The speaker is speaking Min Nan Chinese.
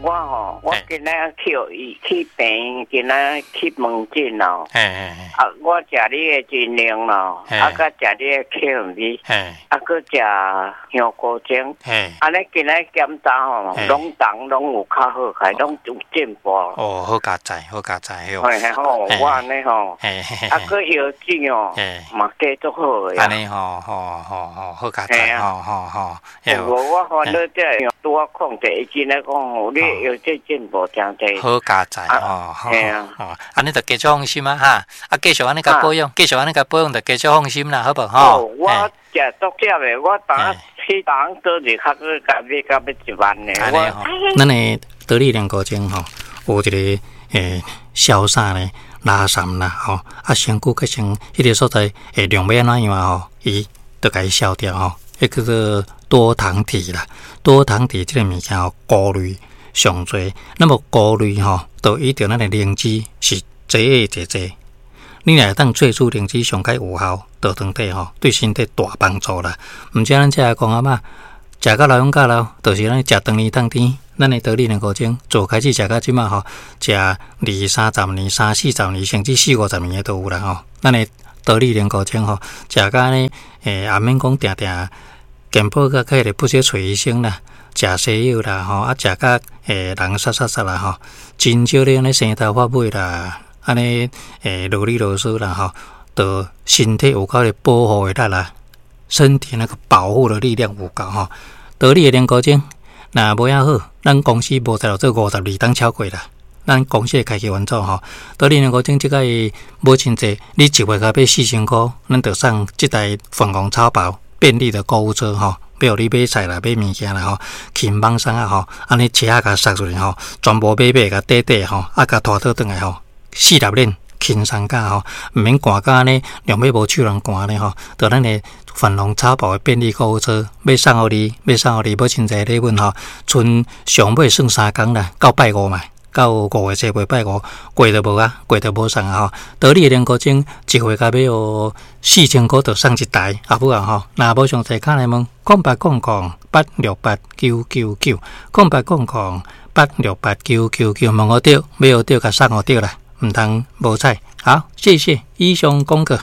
我吼，我今仔去醫去病院，今仔去門診咯。啊，我食你的真靈咯，啊，佮食你的巧米，啊，閣食香菇精。按呢今仔檢查吼，攏重攏有較好，還攏有進步。哦，好佳哉，好佳哉，嘿吼，我按呢吼，啊，閣藥劑哦，嘛加足好的。按呢吼，吼吼吼，好佳哉，吼吼吼。無，我煩惱這個拄仔控制，伊真來講吼，你藥劑進步誠濟。好佳哉，吼，嘿啊，吼，按呢就繼續放心啊，哈，啊，繼續按呢共保養，繼續按呢共保養，就繼續放心啦，好無？吼。我食足少的，我當去當倒日較閣共買到欲1萬呢。我，咱的得力良高精吼，有一個消啥呢？拉潲啦，吼，啊，身軀閣成彼个所在會量欲按怎樣啊？吼，伊就共伊消掉吼，彼叫做多糖體啦。多糖體這个物件吼，高濾上濟，那麼高濾吼，就伊著咱的靈芝是濟濟濟。你若會當萃取靈芝上較有效，到腸底吼，對身體大幫助啦。毋止咱遮來講啊嘛，食到老勇甲老，就是咱食長年當甜，咱的得力良高精，做開始食到這馬吼，食二三十年、三四十年，甚至四五十年的都有啦吼。咱的得力良高精吼，食甲按呢，也免講定定健保佮起來不少揣醫生啦，食西藥啦吼，啊，食甲人殺殺殺啦吼，真少咧按呢生頭髮尾啦。按呢，囉里囉嗦啦吼，就身體有夠的保護的力啦，身體那個保護的力量有夠吼。得力的良高精，若無遐好，咱公司無在做52冬超過啦。咱公司的開啟員組吼，得力良高精這個無真濟，你一月共買4000箍，咱就送這台粉紅草包便利的購物車吼，欲予你買菜啦、買物件啦吼，輕網送啊吼，按呢車仔共塞出去吼，全部買買共綴綴吼，啊共拖倒轉來吼。四粒鏈輕鬆甲吼，毋免寒甲按呢，兩尾無手人寒呢吼。就咱的粉紅草包的便利購物車，欲送予你，欲送予你，無真濟禮物吼。賰上尾算3工啦，到拜五嘛，到5月初八拜五過就無啊，過就無送啊吼。得力的良高精，一月共買予4000箍就送一台，啊好啊吼。若無詳細敲來問，0800868999，0800868999，問予著，買予著，共送予著啦。毋通無彩，好，謝謝，以上廣告。